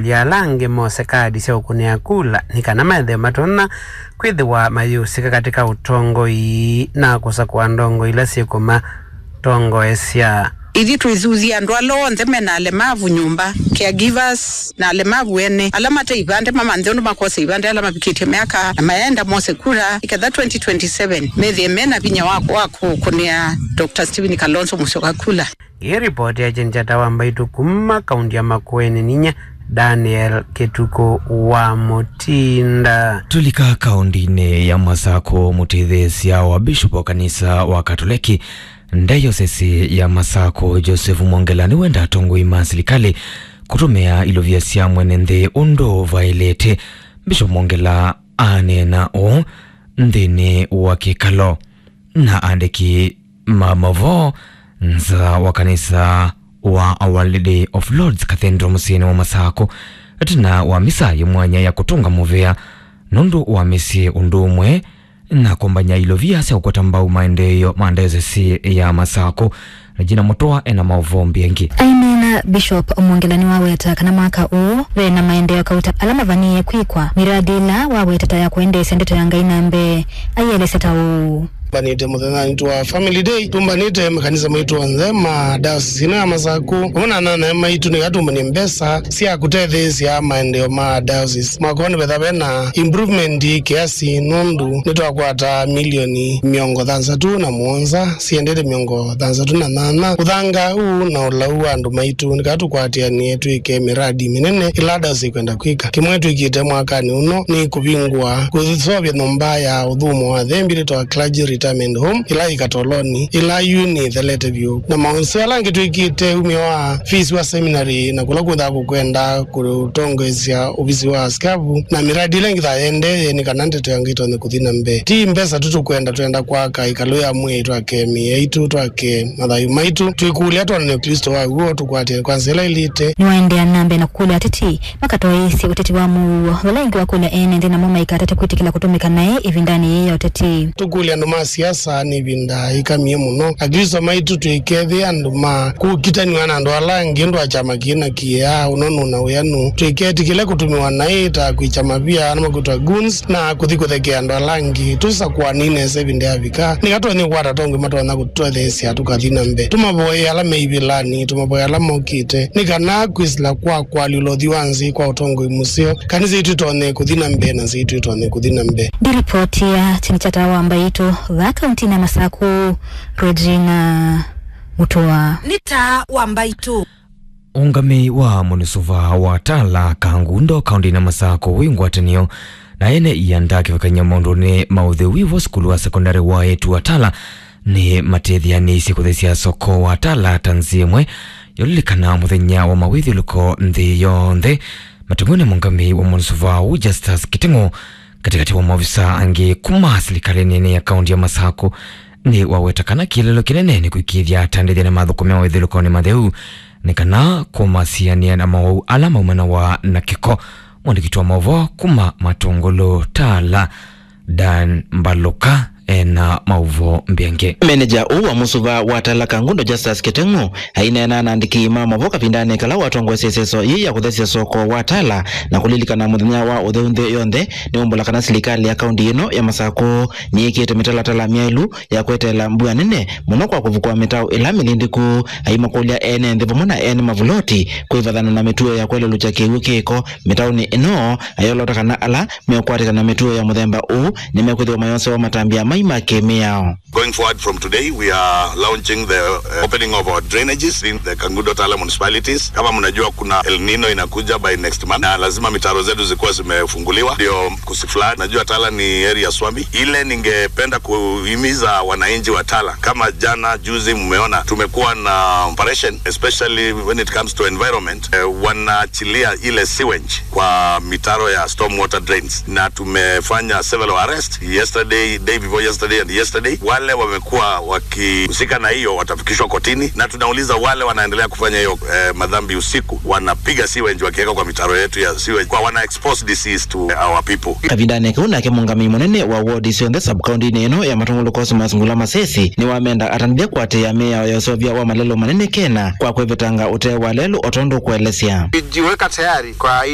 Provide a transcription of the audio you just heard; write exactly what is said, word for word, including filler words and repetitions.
Ya ala angĩ mose kaadi sya ũkũnĩa kula nĩ kana methĩwe matonya kwĩthĩwa mayĩũsĩka katĩ ka ũtongoi na kũsakũa ndongoi ila syĩkũmatongoesya. Ithyĩ twĩthuthya andũ ala onthe me na alemavu nyũmba, caregivers, na alemavu ene, ala mate ivandĩ, mamanthe ũndũ makosa ivandĩ, ala mavikĩtye myaka na mayenda mose kula, nĩ ketha twenty twenty-seven methĩe me na vinya wa, wa kũkũnĩa Doctor Stephen Kalonzo Musyoka kula. Ĩ ripoti ya Jane Chata wa Mbaitũ kuma kaunti ya Makueni, ninyie Daniel Kĩtukũ wa Mũtinda. Tũlika kaunti-inĩ ya Masakũ, mũtetheesya wa bishop wa kanisa wa Katoleki ndayosesi ya Masakũ, Joseph Mwongela, nĩwenda atongoi ma silikalĩ kũtũmĩa ilovia sya mwene nthĩ ũndũ vaĩlĩte. Bishop Mwongela aneena ũũ nthĩnĩ wa kĩkalo na andĩki ma mavoo nza wa kanisa wa Our Lady of Lourdes Cathedral mũsyĩnĩ wa Masakũ, ĩtina wa misa yĩ mwanya ya kũtũnga mũvea nũndũ wa mĩsyĩ ũndũ ũmwe na kũmbany'a ilovia sya kũkwata mbau maendeeo ma ndayosesi ya Masakũ. Regina Mũtũa ena maũvoo mbingĩ. Aineena, Bishop Mwongela nĩwaweta kana mwaka ũũ ve na maendeeo kauta ala mavanie kwĩkwa, miradi ĩla wawetete ya kũendeesya ndeto ya Ngai na mbee. Aielesya ta ũũ. Tũmbanĩte mũthenyanĩ wa Family Day, tũmbanĩte makanisa maitũ onthe ma diocese ĩno ya Masakũ, vamwe na anana maitũ, nĩgetha tũmbany'e mbesa sya kũtetheesya maendeeo ma diocese. Mwaka ũũ nĩvetha ve na improvement kiasi, nũndũ nĩtwakwata milioni mĩongo thanthatũ na mũonza siendete mĩongo thanthatũ na nyanya. Ũthanga ũũ na ũlau wa andũ maitũ, nĩkatũkwatĩanĩe twĩke miradi mĩnene ĩla diocese ĩkwenda kwĩka. Kĩmwe twĩkĩte mwakanĩ ũno nĩ kũvingũa, kũseũvya nyũmba ya ũthũmũo wa athembi yĩtawa Clergy Retirement Home, ĩla yĩ Katoloni, ĩla yu nĩthelete vyũ. Na maũndũ ala angĩ twĩkĩte, umĩo wa fees wa seminary, na kũla kũthaa kũkwenda kũtongoesya ovisi wa askavu, na miradi ĩla ĩngĩ ta yendee, nĩ kana ndeto ya Ngai ĩtonye kũthi na mbee. Ti mbesa tu tũkwenda, twenda kwaka ĩkalũ ya mwĩĩ, twake mĩĩ yaitũ, twake mathayũ maitũ, twĩkũlya twonane Klĩsto wa w'o, tũkwatĩe kwa nzĩa ĩla ĩlĩte. Nĩwaendeea na mbee na kũkũlya ateti makatwaĩĩsye ũteti wa mũuo, vala ĩngĩ wakũlya ene nthĩ namo maikatate kwĩtĩkĩla kũtũmĩka naĩ ĩvindanĩ yĩĩ ya ũteti. Tũkũlya andũ ma siasa nĩ ĩvinda ĩkamie mũno. Aklĩsto maitũ tũikethĩa andũ ma kũkitanĩw'a na andũ ala angĩ, ũndũ wa kyama kĩĩ na kĩĩ, ũnũnũ na wĩanu. Tũiketĩkĩle kũtũmĩwa naĩ ta kwĩkya mavia, ala makwĩtwa goons, na kũthi kũthekea andũ ala angĩ. Tũsakũanei nesa ĩvinda yavika, nĩka tũtonye kũkwata atongoi matonya kũtũtetheesya tũkathi na mbee. Tũmavoye ala me ivĩlanĩ, tũmavoye ala mokĩte, nĩ kana kwĩsĩla kwa kũalyũla ũthwii wa nzĩ kwa ũtongoi mũseo, kanisa itũ ĩtonye kũthi na mbee na nzĩ itũ ĩtonye kũthi na mbee. Ndi ripoti ya Chini cha Taa wa Mbaitũ, vaa kauntinĩ ya Masakũ, Regina Mũtũa. Nĩ Taa wa Mbaitũ. Ũngamĩi wa mũnisuva wa Tala Kangundo kauntinĩ ya Masakũ wĩ ngwatanĩo na ene ianda kĩvathũkany'o maũndũnĩ ma ũtheu wĩ vo sukulu wa sekondalĩ wa eĩtu wa Tala nĩ matetheanĩisye kũthesya soko wa Tala ta nzĩa ĩmwe ya ũlilikana mũthenya wa mawĩthyũlũko nthĩ yonthe. Matũngĩwe nĩ mũngamĩi wa mũnisuva ũũ Justus Kĩteng'ũ katĩkatĩ wa maovisa angĩ kuma silikalĩ nene ya kaunti ya Masakũ, nĩ waweta kana kĩeleelo kĩnene nĩ kũĩkĩĩthya atandĩthya nĩmathũkũmĩa wĩthyũlũkonĩ matheu nĩ kana kũmasianĩa na mowau ala maumanawa na kĩko. Mwandĩki wa maũvoo kuma Matũngũlũ Tala, Dan Mbalũka, ena maũvoo mbingĩ. Menenja ũũ wa mũsuva wa Tala Kangundo Justus Kĩteng'ũ aineena na andĩki ma maũvoo kavindanĩ kala watongoesye ĩseso yĩĩ ya kũthesya soko wa Tala na kũlilikana mũthenya wa ũtheu nthĩ yonthe, nĩwaumbũla kana silikalĩ ya kaunti ĩno ya Masakũ nĩyĩkĩte mĩtalatala myaĩlu ya kweteela mbua nene mũno kwa kũvukũa mĩtaũ ĩla mĩlindĩku. Aimakũlya ene nthĩ vamwe na ene mavuloti kwĩvathana na mĩtuo ya kwelelũkya kĩw'ũ kĩko mĩtaũnĩ ĩno, ayolota kana ala meũkwatĩka na mĩtuo ya mũthemba ũũ nĩmekwĩthĩwa mayosewa matambya mai ma kĩmĩao. Going forward from today, we are launching the uh, opening of our drainages in the Kangundo Tala municipalities. Kama mnajua, kuna El Nino inakuja by next month, na lazima mitaro zetu zikuwa zimefunguliwa ndio kusiflood. Najua Tala ni area swambi. Ile ningependa kuhimiza wananchi wa Tala, kama jana juzi mmeona tumekuwa na operation, especially when it comes to environment, eh, wanaachilia ile sewage kwa mitaro ya storm water drains, na tumefanya several arrests yesterday, day before yesterday and yesterday. Wale wamekuwa wakihusika na hiyo watafikishwa kotini, na tunauliza wale wanaendelea kufanya hiyo, eh, madhambi usiku, wanapiga sewage wakiweka kwa mitaro yetu ya sewage, kwa wana expose disease to our people. Kavindanĩ kau nake mũngamĩi mũnene wa wodi syonthe sub-kauntinĩ ĩno ya Matũngũlũ Cosmas Ngula Masesi nĩwamenda atandĩthya kũatĩĩa mĩao ya ũseũvya wa malelũ manene kena kwa kwĩvetanga ũtee wa lelũ o tondũ kũelesya. Kujiweka tayari kwa